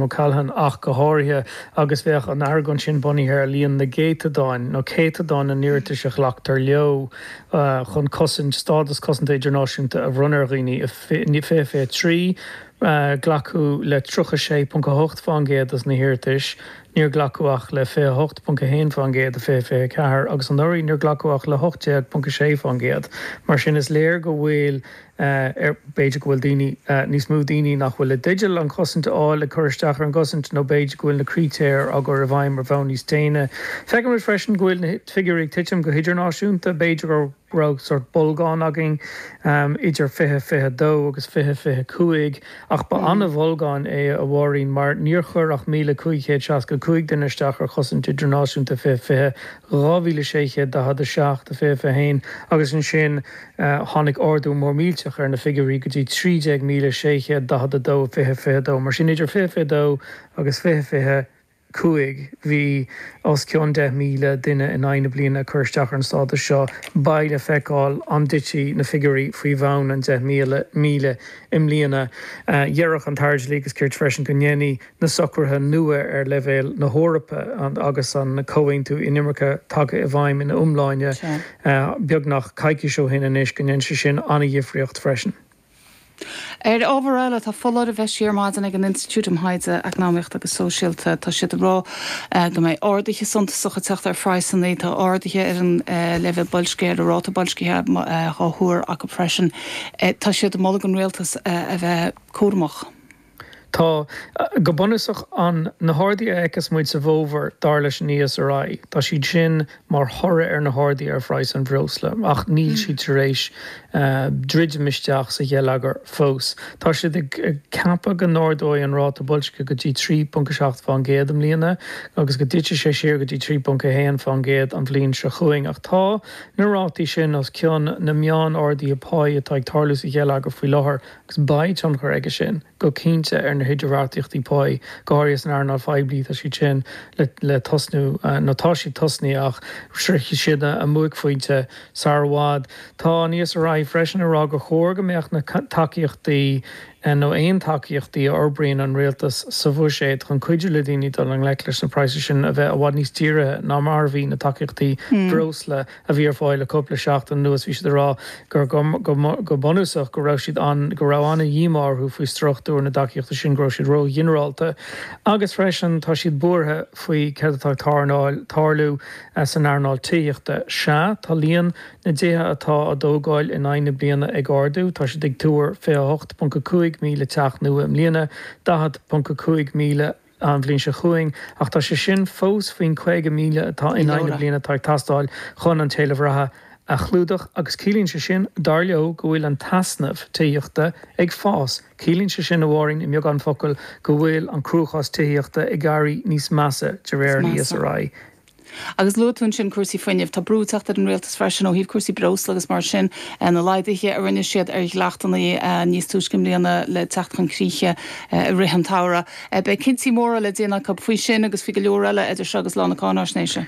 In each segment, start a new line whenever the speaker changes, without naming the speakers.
O'Callaghan ach go háirithe, agus bheadh an argóint sin bunaithe ar líon na gcéatadáin, nó céatadán na n-iarratais a ghlactar leo chun cosaint, stádas cosanta idirnáisiúnta a bhronnadh ar dhaoine. I 2023, glacadh le 36.8% de na hiarratais, níor glacadh ach le 28.1% i 2024, agus anuraidh níor glacadh ach le 18.6%. Mar sin, is léir go bhfuil B'fhéidir go bhfuil daoine, níos mó daoine nach bhfuil i dteideal an chosaint a fháil ag cur isteach ar an gcosaint nó b'fhéidir go bhfuil na critéir á gcur i bhfeidhm ar bhonn níos déine. Feicimid freisin go bhfuil na figiúirí ag titim go hidirnáisiúnta. B'fhéidir go raibh sórt bolgán againn idir 2022 agus 2025 ach ba an-bholgán é, a Mháirín, mar níor chuir ach 1,565 duine isteach ar chosaint idirnáisiúnta 2020, 2,647 i 2021 agus ansin Tháinig ardú mór millteach ar na figiúirí go dtí 13,642 i 2022. Mar sin, idir 2022 agus 2025 bhí os cionn 10,000 duine in aghaidh na bliana ag cur isteach ar an stádas seo. Beidh le feiceáil an dtitfidh na figiúirí faoi bhun an 10,000 i mbliana. Déarfadh an tAire Dlí agus Cirt freisin go ndéanfaidh na socruithe nua ar leibhéal na hEorpa agus an Comhaontú Inimirce tagtha i bhfeidhm ina iomláine beagnach coicís ó shin anois, go ndéanfaidh sé sin an-dhifríocht freisin.
Ar ábhar eile, tá foláireamh eisithe ar maidin ag an Institiúid um Thaighde Eacnamaíochta agus Sóisialta. Tá siad ag rá go mbeidh arduithe suntasacha ag teacht ar phraghsanna. Tá arduithe ar an leibhéal boilscithe, ar an ráta boilscithe á thuar acu freisin. Tá siad ag moladh don rialtas a bheith cúramach.
Tá, go bunúsach, an na harduithe a fheiceas muid sa bhfómhar, dar leis an ESRI, tá siad sin mar thoradh ar na harduithe ar phraghas an bhreosla, ach níl siad tar éis druidim isteach sa gheilleagar fós. Tá siad ag ceapadh go n-ardóidh an ráta boilscithe go dtí 3.7% i mbliana agus go dtitfidh sé siar go dtí 3.1% an bhliain seo chugainn. Ach tá na rátaí sin os cionn na meán-arduithe páí atá ag tarlú sa gheilleagar faoi láthair Agus beidh tionchar aige sin, go cinnte, ar na hidirbheartaíochtaí páí, go háirithe san earnáil phoiblí. Tá siad sin le tosnú, nó tá siad tosnaithe ach sroichfidh siad a mbuaicphointe sar i bhfad. Tá an ESRI freisin ag rá gur chóir go mbeadh na tacaíochtaí, nó aon tacaíochtaí a fhorbraíonn an rialtas sa bhuiséad chun cuidiú le daoine dul i ngleic leis na praghsanna sin, a bheith i bhfad níos dírithe ná mar a bhí na tacaíochtaí breosla. a bhí ar fáil le cúpla seachtain anuas, bhí siad ag rá gur go bunúsach go raibh siad an, go raibh an-dhíomá orthu faoi struchtúr na dtacaíochtaí sin, go raibh siad ró-ghinearálta agus freisin tá siad buartha faoi céard atá ag tarlú san earnáil tithíochta. Sea, tá líon na dtithe atá á dtógáil in aghaidh na bliana ag ardú, tá siad ag tuar 28.5 míle teach nua i mbliana, 40.5 míle an bhliain seo chugainn, ach tá sé sin fós faoin 50,000 atá in aghaidh na bliana atá ag teastáil chun an t-éileamh reatha a chlúdach agus ciallaíonn sé sin, dar leo, go bhfuil an t-easnamh tithíochta ag fás. Ciallaíonn sé sin, a Mháirín, i mbeagán focal, go bhfuil an cruachás tithíochta ag éirí níos measa, de réir an ESRI.
Agus luaigh tú ansin cúrsaí fuinnimh. Tá brú ag teacht ar an rialtas freisin ó thaobh cúrsaí breosla agus mar sin. Na laghduithe a rinne siad ar dhleachtanna níos túisce i mbliana le teacht chun críche i rith an tsamhraidh. Beidh cinntí móra le déanamh acu faoi sin agus faoi go leor eile idir seo agus lá na cáináisnéise.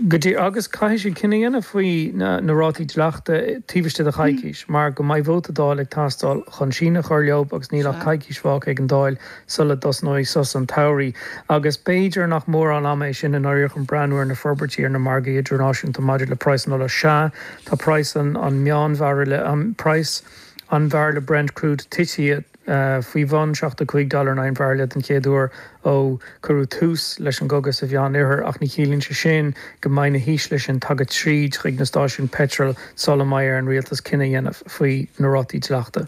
Go díreach. Agus caithfidh siad cinneadh a dhéanamh faoi na rátaí dleachta taobh istigh de choicís mar go mbeidh vóta Dála ag teastáil chun síneadh a chur leo agus níl ach coicís fágtha ag an Dáil sula dtosnóidh sos an tsamhraidh, agus b'fhéidir nach mórán ama é sin i ndáiríre chun breathnú ar na forbairtí ar na margaí idirnáisiúnta maidir le praghas an ola. Sea, tá praghas an meánbhairille, praghas an bhairille Brent Crude tite faoi bhun 75 dollar in aghaidh an bhairille den chéad uair ó cuireadh tús leis an gcogadh sa Mheánoirthear, ach ní chiallaíonn sé sin go mbeidh na híslithe sin tagtha tríd chuig na stáisiúin peitril sula mbeidh ar an rialtas cinneadh a dhéanamh faoi na rátaí dleachta.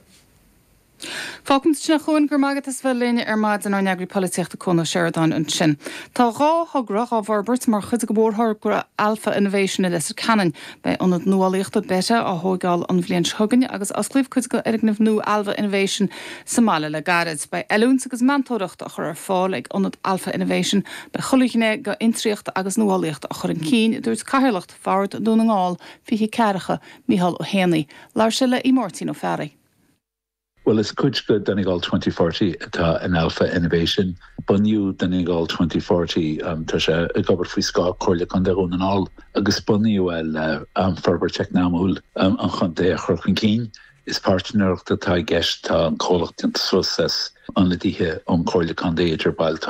Fágfaimid ansin é a Chuain, go raibh maith agat as bheith linn ar maidin, ár n-eagraí polaitíochta Cuan Ó Seireadáin ansin. Tá 2 thogra dhá bhforbairt mar chuid de mhórthogra Alpha Innovation i Leitir Ceanainn. Beidh ionad nuálaíochta Beta á thóigeáil an bhliain seo chugainn agus osclaíodh cuid de fhoirgneamh nua Alpha Innovation sa mbaile le gairid. Beidh oiliúint agus meantóireacht á chur ar fáil ag ionad Alpha Innovation. Beidh chuile ghné d'fhiontraíocht agus nuálaíocht á chur chun cinn, a dúirt Cathaoirleach Bhord Dhún na nGall, Fiche Ceathracha, Micheál Ó hÉanaí. Labhair sé le Máirtín Ó Fearraigh.
Bhuel, is cuid de Donegal 2040 atá in Alpha Innovation. Bunaíodh Donegal 2040, tá sé ag obair faoi scáth Comhairle Contae Dhún na nGall, agus bunaíodh é le forbairt eacnamúil an chontae a chur chun cinn. Is páirtnéireacht atá i gceist, tá an comhlacht déanta suas as ionadaithe ón Chomhairle Contae idir baill.